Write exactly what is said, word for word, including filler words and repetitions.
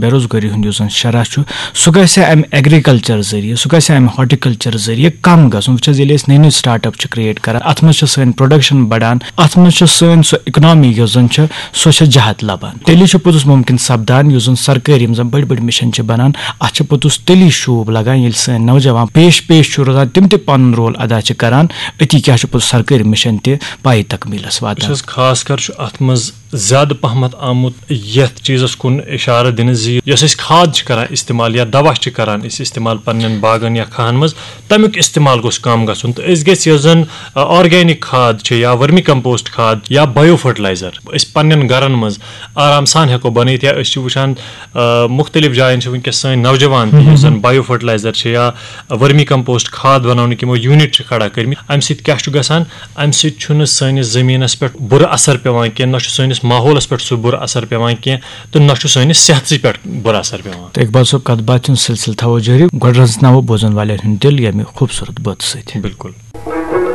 بے روزگٲری ہُنٛد یُس زَن شرح چھُ، سُہ گژھِ اَمہِ ایگریکلچر ذٔریعہٕ، سُہ گژھِ اَمہِ ہارٹیکلچر ذٔریعہٕ کَم گژھُن۔ وٕچھ حظ، ییٚلہِ أسۍ نٔے نٔے سٹارٹ اپ چھِ کریٹ کران، اَتھ منٛز چھِ سٲنۍ پروڈکشن بڑان، اَتھ منٛز چھِ سٲنۍ سۄ اکنامی یۄس زَن چھِ، سۄ چھِ جہت لبان۔ تیٚلی چھُ پوٚتُس مُمکِن سپدان، یُس زَن سرکٲرۍ یِم زَن بٔڑۍ بٔڑۍ مِشن چھِ بنان، اَتھ چھِ پوٚتُس تیٚلی شوٗب لگان، ییٚلہِ سٲنۍ نوجوان پیش پیش چھُ روزان، تِم تہِ پنُن رول ادا چھِ کران۔ أتی کیٛاہ چھُ پوٚتُس سرکٲرۍ مِشن تہِ پایہِ تکمیٖلس واتان۔ وٕچھ حظ، خاص کر چھُ اَتھ منٛز زیادٕ پہمتھ آمُت یَتھ چیٖزَس کُن اِشارٕ دِنہٕ زِ یۄس أسۍ کھاد چھِ کَران اِستعمال یا دَوا چھِ کَران أسۍ اِستعمال پنٛنٮ۪ن باغَن یا کھَہَن منٛز، تَمیُک اِستعمال گوٚژھ کَم گژھُن۔ تہٕ أسۍ گژھِ یۄس زَن، آ، آرگینِک کھاد چھِ یا ؤرمی کمپوسٹ کھاد یا بایو فرٹیلایزر، أسۍ پنٛنٮ۪ن گَرَن منٛز آرام سان ہٮ۪کو بَنٲیِتھ۔ یا أسۍ چھِ وٕچھان، آ، مُختٔلِف جایَن چھِ وٕنکیٚس سٲنۍ نوجوان تہِ، یُس زَن بایو فرٹیلایزر چھِ یا ؤرمی کمپوسٹ کھاد بَناونٕکۍ یِمو یوٗنِٹ چھِ کھڑا کٔرمٕتۍ۔ اَمہِ سۭتۍ کیٛاہ چھُ گژھان؟ اَمہِ سۭتۍ چھُنہٕ سٲنِس زٔمیٖنَس پٮ۪ٹھ بُرٕ اثر پٮ۪وان کینٛہہ، نہ چھُ سٲنِس ماحولَس پٮ۪ٹھ سُہ بُرٕ اثر پٮ۪وان کینٛہہ، تہٕ نہ چھُ سٲنِس صحتسٕے پٮ۪ٹھ بُرٕ اثر پٮ۪وان۔ تہٕ اقبال صٲب، کَتھ باتھِ ہُنٛد سلسلہٕ تھاوو جٲری۔ گۄڈٕ رَژھناوو بوزَن والٮ۪ن ہُنٛد دِل ییٚمہِ خوٗبصوٗرت بٲتہٕ سۭتۍ۔ بِلکُل۔